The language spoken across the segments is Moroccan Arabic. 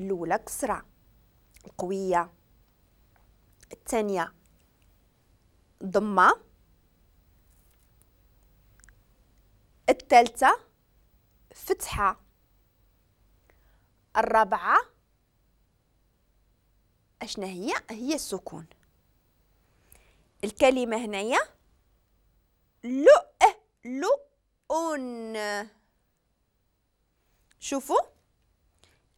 الاولى كسره القوية، الثانية ضمه، الثالثة فتحه، الرابعة اشنا هي؟ هي السكون. الكلمة هنايا لؤ لؤن. شوفوا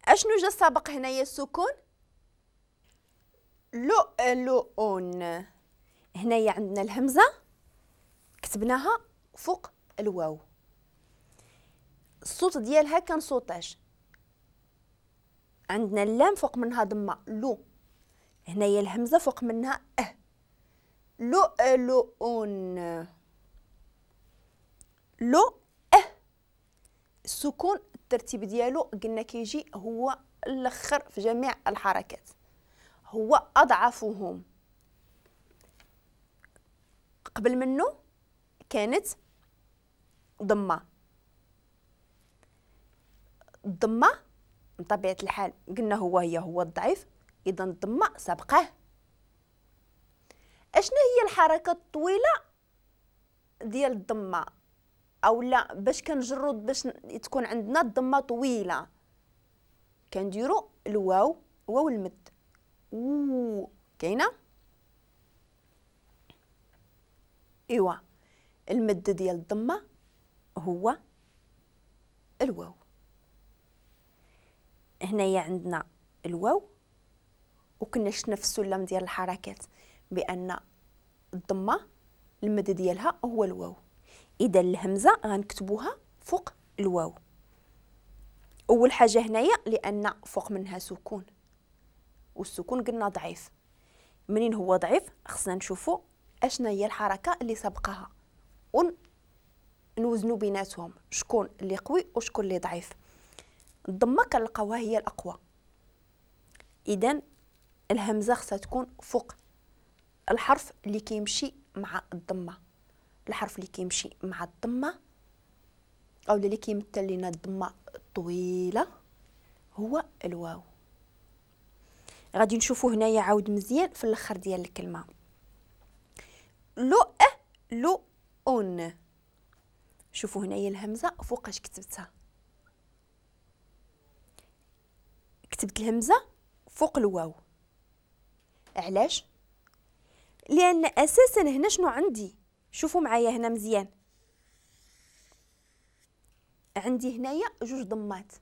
اشنو جا سابق هنايا السكون، لؤلؤن. هنايا عندنا الهمزة كتبناها فوق الواو، الصوت ديالها كان صوتاش. عندنا اللام فوق منها ضمه لو، هنايا الهمزة فوق منها اه، لؤلؤن، لو اه. السكون الترتيب ديالو قلنا كيجي هو الاخر في جميع الحركات، هو اضعفهم. قبل منه كانت ضمه، الضمة بطبيعة الحال قلنا هو هي هو الضعيف، اذا الضمة سبقه. اشنا هي الحركة الطويلة ديال الضمة، او لا باش كنجرو باش تكون عندنا الضمة طويلة؟ كنديرو الواو، واو المد، و كاينه ايوا المد ديال الضمة هو الواو. هنايا عندنا الواو، وكنا شفنا في السلم ديال الحركات بان الضمة المد ديالها هو الواو. اذا الهمزة غنكتبوها فوق الواو. اول حاجة هنايا لان فوق منها سكون، والسكون قلنا ضعيف، منين هو ضعيف خصنا نشوفوا اشنا هي الحركة اللي سبقها ونوزنوا بيناتهم شكون اللي قوي وشكون اللي ضعيف. الضمة كنلقاوها هي الاقوى، اذا الهمزة خصها تكون فوق الحرف اللي كيمشي مع الضمة. الحرف اللي كيمشي مع الضمة او اللي كيمثل لنا الضمة الطويلة هو الواو. غادي نشوفو هنايا عاود مزيان في الاخر ديال الكلمة، لؤ لؤن. شوفوا هنايا الهمزة فوقاش كتبتها، كتبت الهمزة فوق الواو. علاش؟ لان اساسا هنا شنو عندي؟ شوفوا معايا هنا مزيان، عندي هنايا جوج ضمات،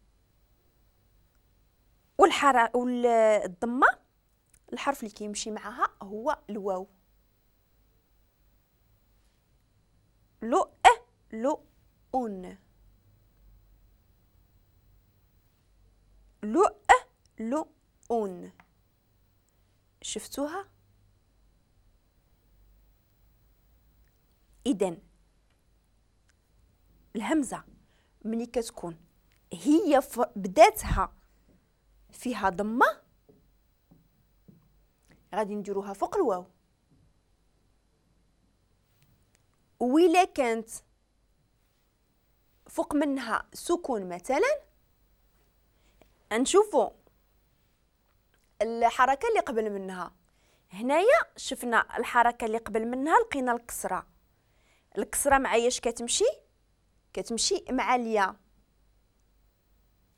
والضمه الحرف اللي كيمشي معها هو الواو. لؤ لؤن، لؤ لؤن. شفتوها؟ اذا الهمزة ملي كتكون هي بداتها فيها ضمه غادي نديروها فوق الواو، وإلا كانت فوق منها سكون مثلا نشوفوا الحركة اللي قبل منها. هنايا شفنا الحركة اللي قبل منها لقينا الكسرة، الكسرة معايا كتمشي؟ كتمشي مع الياء،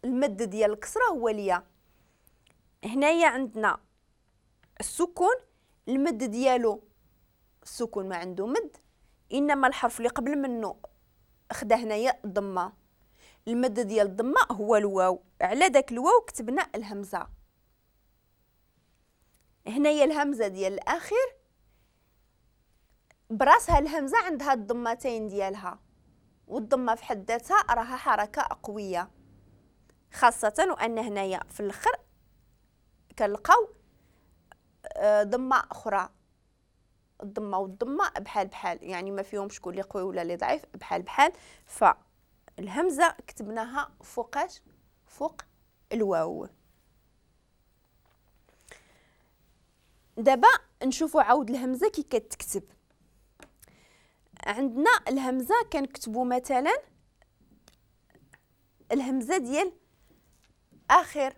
المد ديال الكسرة هو الياء. هنايا عندنا السكون، المد ديالو السكون ما عنده مد، انما الحرف اللي قبل منه خدا هنايا الضمة، المد ديال الضمة هو الواو، على داك الواو كتبنا الهمزة. هنايا الهمزة ديال الاخير براسها الهمزة عندها الضمتين ديالها، والضمه في حد ذاتها راها حركة قوية، خاصة وان هنايا في الاخر كنلقاو ضمه اخرى. الضمة والضمه بحال بحال، يعني ما فيهم شكون اللي قوي ولا اللي ضعيف، بحال بحال. فالهمزه كتبناها فوقاش؟ فوق الواو. دابا نشوفوا عاود الهمزة كي كتكتب. عندنا الهمزة كنكتبوا مثلا الهمزة ديال اخر